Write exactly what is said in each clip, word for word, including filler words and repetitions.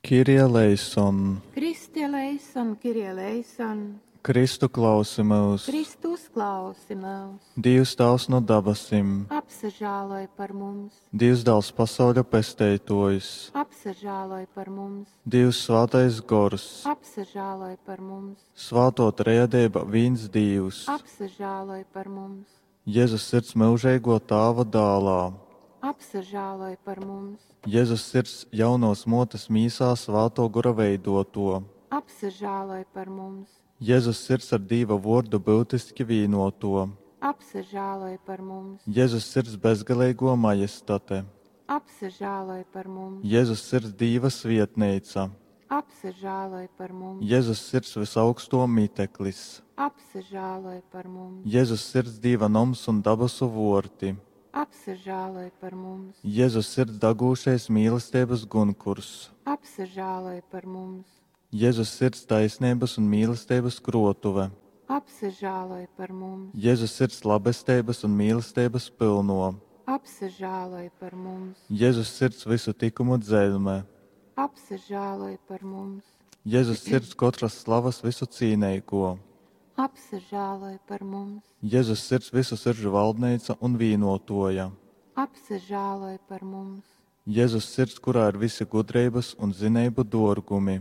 Kyrie eleison! Christe eleison, Kyrie eleison! Kristu klausi myus! Kristu uzklausi myus! Dīvs Tāvs nu dabasim! Apsažāloj par mums! Dīvs Dāls pasauļa Pesteitōjs! Apsažāloj par mums! Dīvs Svātais Gors! Apsažāloj par mums! Svātō Trejadeiba vīns Dīvs! Apsažāloj par mums! Jezus Sirds myužeigō Tāva Dālā! Apsažāloj par mums! Jezus Sirds, jaunovas mōtes mīsā Svātō Gora veidōtō! Apsažāloj par mums! Jezus Sirds ar Dīva Vōrdu byutiski vīnōtō! Apsažāloj par mums! Jezus Sirds bezgaleigō Majestate! Apsažāloj par mums! Jezus Sirds Dīva svietneica! Apsažāloj par mums! Jezus Sirds vysaugstō miteklis! Apsažāloj par mums! Jezus Sirds Dīva noms un dabasu vōrti! Apsažāloj par mums! Jezus Sirds dagūšais mīlesteibas gunkurs! Apsažāloj par mums! Jezus Sirds taisneibas un mīlesteibas krōtuve! Apsažāloj par mums! Jezus Sirds labesteibas un mīlesteibas pylnō! Apsažāloj par mums! Jezus Sirds vysu tykumu dzeļme! Apsažāloj par mums! Jezus Sirds kotras slavas vysucīneigō! Apsažāloj par mums! Jezus Sirds vysu siržu valdneica un vīnōtōja! Apsažāloj par mums! Jezus Sirds, kurā ir vysi gudreibas un zineibu dōrgumi!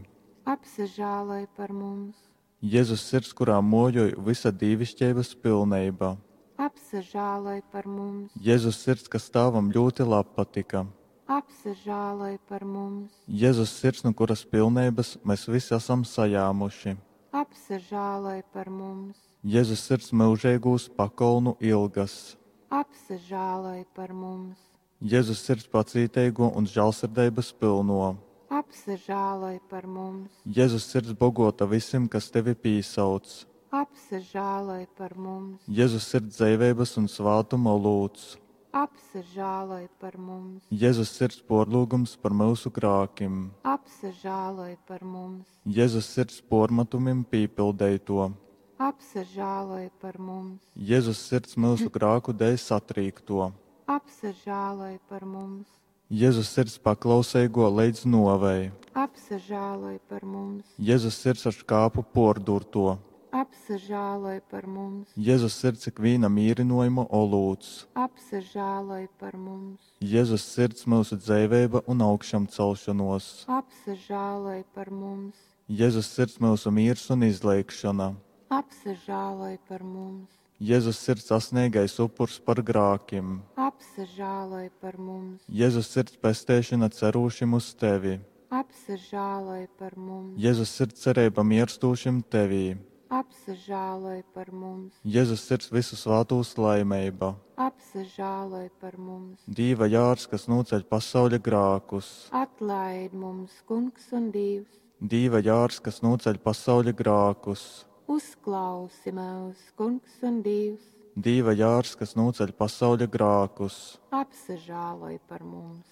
Apsažāloj par mums! Jezus Sirds, kurā mōjoj vysa dīviškeibas pilneiba! Apsažāloj par mums! Jezus Sirds, kas Tāvam ļūti labpatyka! Apsažāloj par mums! Jezus Sirds, nu kuras pilneibas mes vysi asam sajāmuši! Apsažāloj par mums! Jezus Sirds myužeigūs pakolnu ilgas! Apsažāloj par mums! Jezus Sirds pacīteigō un žālsirdeibas pylnō! Apsažāloj par mums! Jezus Sirds bogōta vysim, kas tevi pīsauc! Apsažāloj par mums! Jezus Sirds dzeiveibas un svātuma olūts! Apsažāloj par mums! Jezus Sirds pōrlyugums par myusu grākim! Apsažāloj par mums! Jezus Sirds pōrmatumim pīpildeitō! Apsažāloj par mums! Jezus Sirds myusu grāku dēļ satrīktō! Apsažāloj par mums! Jezus Sirds paklauseigō leidz nōvei! Apsažāloj par mums! Jezus Sirds ar škāpu pōrdūrtō! Apsažāloj par mums! Jezus Sirds ikvīna mīrynōjuma olūts! Apsažāloj par mums! Jezus Sirds myusu dzeiveiba un augšamcelšonōs! Apsažāloj par mums! Jezus Sirds myusu mīrs un izleigšona! Apsažāloj par mums! Jezus Sirds asneigais upurs par grākim! Apsažāloj par mums! Jezus Sirds pesteišona cerūšim uz tevi! Apsažāloj par mums! Jezus Sirds cereiba mierstūšim tevī! Apsažāloj par mums! Jezus Sirds vysu svātūs laimeiba! Apsažāloj par mums! Dīva jārs, kas nūceļ pasauļa grākus! Atlaid mums, Kungs un Dīvs! Dīva jārs, kas nūceļ pasauļa grākus! Uzklausi mūs, Kungs un Dīvs! Dīva jārs, kas nūceļ pasauļa grākus! Apsažāloj par mums!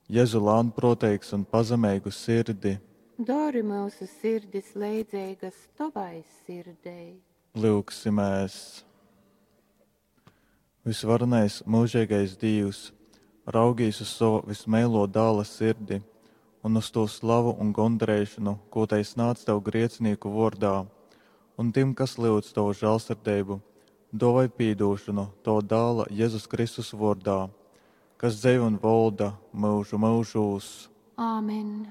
Jezu lānprōteigs un pazemeigu sirdi! Dori mūsu sirdis leidzeigas tovai sirdei. Lyugsimēs! Visvarenais mūžīgais Dīvs, raugīs uz savu vismeilo dāla sirdi un uz to slavu un gondarīšanu, ko tai snāc tev griecinīku vārdā, un tiem, kas lyudz tavu žēlsirdību, dovai pīdūšanu tava dāla Jēzus Kristus vārdā, kas dzeiv un volda mūžu mūžūs. Āmen!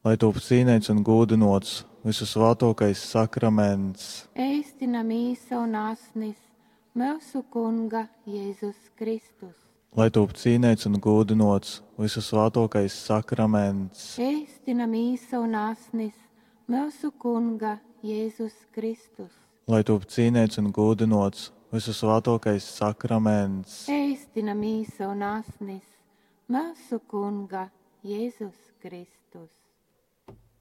Lai top cīnīts un gūdinots visu svātokais sakraments. Eistina mīsa un asnis mūsu Kunga Jēzus Kristus. Lai top cīnīts un gūdinots visu svātokais sakraments. Eistina mīsa un asnis mūsu Kunga Jēzus Kristus. Lai top cīnīts un gūdinots visu svātokais sakraments. Eistina mīsa un asnis mūsu Kunga Jēzus Kristus.